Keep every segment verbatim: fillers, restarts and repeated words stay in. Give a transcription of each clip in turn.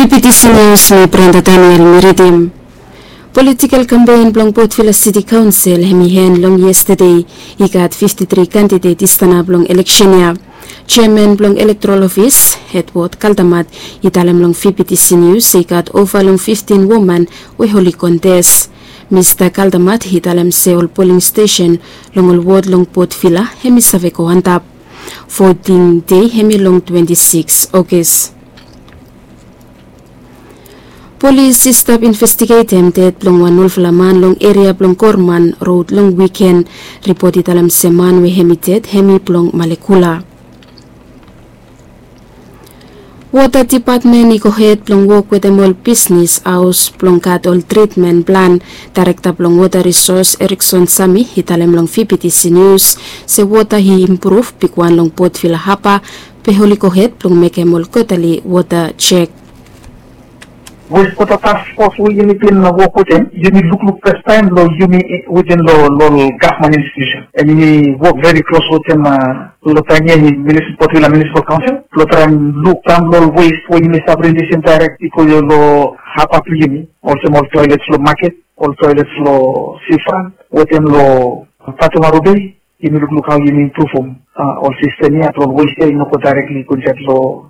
P T C News, mi Brenda Daniel mi ridim. Political campaign blong Port Vila City Council hemi hen long yestede. I gat fifty three candidate i stanap long election ya. Chairman blong Electoral Office, Edward Kaldamat, i talem long V P T C News se i gat ova long fifteen woman we oli contest. Mista Kaldamat i talem se ol polling station long ol ward long Port Vila hemi save go antap. Voting day hemi long twenty six August. Polis i stap investigetem ded blong wan olfala man long eria blong Gorman Rod long wiken. Ripot i talem se man we hemi ded hemi blong Malekula. Wota dipatmen i gohed blong wok wetem ol bisnis haos blong gat ol tritmen plan. Daerekta blong Wota Risos, Erikson Sami, i talem long V P T C News se wota i impruv bigwan long Port Vila Haba, be oli gohed blong mekem ol kwatali wota jek. Westwota Task Force we yumi bin wok wetem, yumi lukluk fastaem long yumi wetem long ol gavman institusen. An yumi wok veri klos wetem long taem ya, Port Vila Munisipal Kaonsel, blong traem luk daon long ol west we yumi save rilisim daerek i go long haba blong yumi, olsem ol toelets long maket, ol toelets long sifrant, wetem long Batu Maru Bei. Yumi lukluk hao yumi impruvum ol sistem ya blong ol west ya i no go daerekli go insaed long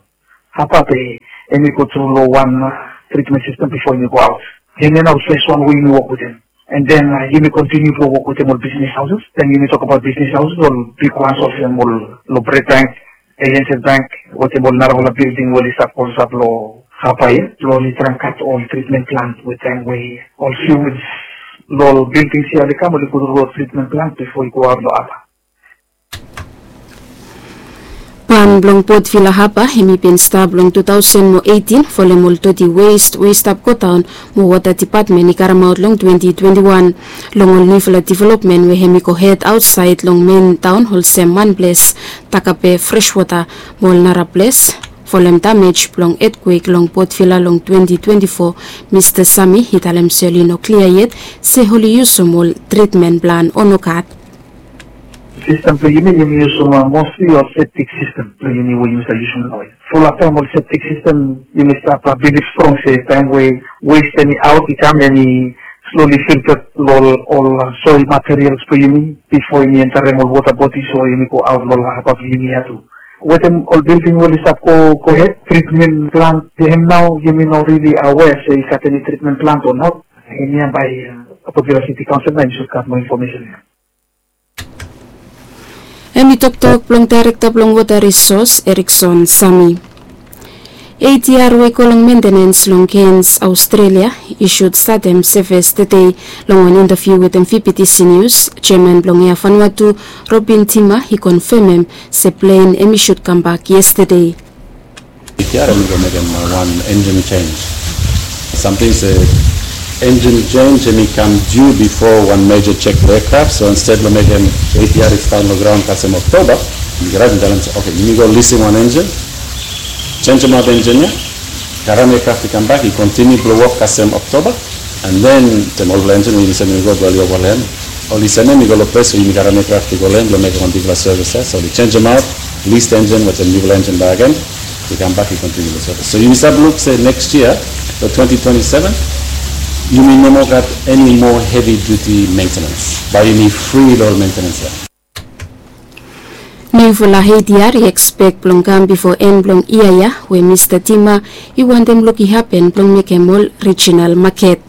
haba be hemi go tru long wan tritmen sistem bifo hemi go aot. Hemia nao fes wan we yumi wok wetem. An den yumi kontiniu blong wok wetem ol bisnis haoses. Den yumi tokbaot bisnis haoses, ol bigwan olsem ol long Bred Bank, Aliances Bank, wetem ol narafala bilding we oli stap klosap long haba ya, blong oli traem gat ol tritmen plant we taem we ol siwij long ol bildings ya oli kam, oli go tru long tritmen plant bifo i go aot long haba. Ban blong Port Vila Haba hemi bin stap long tu taosen mo eitin folem ol doti west we i stap godaon mo Wota Dipatmen i karemaot long twenti twenti wan. Long ol niufala developmen we hemi gohed aotsaed long men taon olsem Manples, Takape, Freshwota mo ol nara ples folem damej blong etkwek long Port Vila long twenti twenti fo, Mista Sami i talem se oli no klia yet se oli yusum ol tritmen plan o nogat. Sistem blong yumi, yumi yusum mostli ol septik sistem blong yumi we yumi save yusum naoia. Fulap taem ol septik sistem yumi stap bilif strong se taem we west hemi aot i kam, hemi sloli filta long ol soil materials blong yumi bifo hemi enterem ol wota bodis o hemi go aot long haba blong yumi ya tu. Wetem ol bilding we oli stap go gohed, tritmen plant, hemia nao yumi no rili awea se i gat eni tritmen plant o not. Hemia bae Port Vila Siti Kaonsel nao i sud gat moa infomesen ya. Hemi toktok blong Daerekta blong Wota Risos, Erikson Sami. A D R we i go long mentenens long Cairns, Australia, i sud statem sevis tede. Long wan intaviu wetem V P T C News, jeaman blong Air Vanuatu, Robin Tima, i konfemem se plen hemi sud kambak yestede. A D R hemi go mekem wan enjin jenj. Samting se enjin jenj hemi kam diu bifo wan meja jek blong eakraf. So insted blong mekem A D R i stat long graon kasem Oktoba, yumi go raet i talem se, oke, yumi go lising wan enjin, jenjemaot enjin ya, karem eakraf i kambak i kontiniu blong wok kasem Oktoba. An den, den olfala enjin we yumi sendem i go blong oli ovalan, oli sendem i go long ples we yumi karem eakraf i go long hem blong mekem wan bigfala sevis ya. So oli jenjemaot, lis enjin wetem niufala enjin bakegen, i kambak i kontiniu long sevis. So yumi stap luk se neks yia, long twenti twenti seven, yumi no moa gat eni moa hevi diuti mentenens. Bae yumi fri long ol mentenens ya. Niufala A D R i ekspek blong kam bifo en blong yia ya, we Mista Tima i wantem luk i hapen blong mekem ol rijinal maket.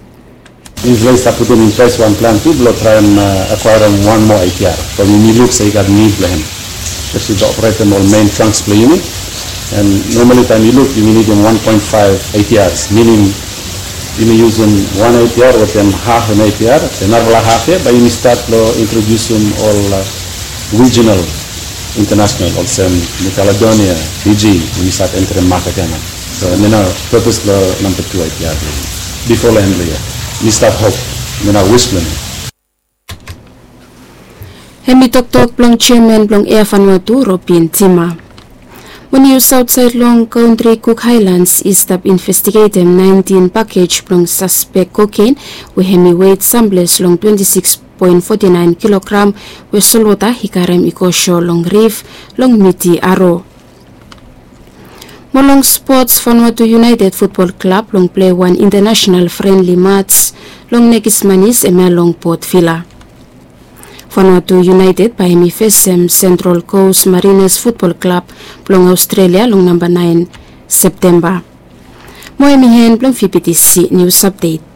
Yufala i stap putum in ples wan plan tu blong traem akwaerem wan moa A D R. From yumi luk se i gat nid blong hem, espeseli blong operetem ol men tranks blong yumi. An nomali taem yu luk, yumi nidim wan poen faef A D Rs, minim yumi yusum wan A D R wetem haf an A D R, an narafala haf ya bae yumi stat long introdiusim ol rijinal, intanasonal, olsem New Caledonia, Fiji, yumi stat enterem maket ya nao. So hemia nao pepes blong namba tu A D R blong yumi. Bifo long en blong yia, mi stap hop, hemia nao wis blong mi. Hemi toktok blong jeaman blong Air Vanuatu, Robin Tima. Mo nius aotsaed long kantri, Cook Highlands i stap investigetem naentin pakej blong saspek koken we hemi wet samples long twenti sikis poen foti naen kilogram we solwota i karem i go so long rif long miti Aro. Mo long spots, Vanuatu United Futbol Klab long plei wan intanasenal frenli mats long nekis manis, hemia long Port Vila. Vanuatu United bae hemi fesem Sentral Kos Marines Futbol Klab blong Aostrelia long namba naen Septemba. Mo hemi en blong VBTC nius apdet.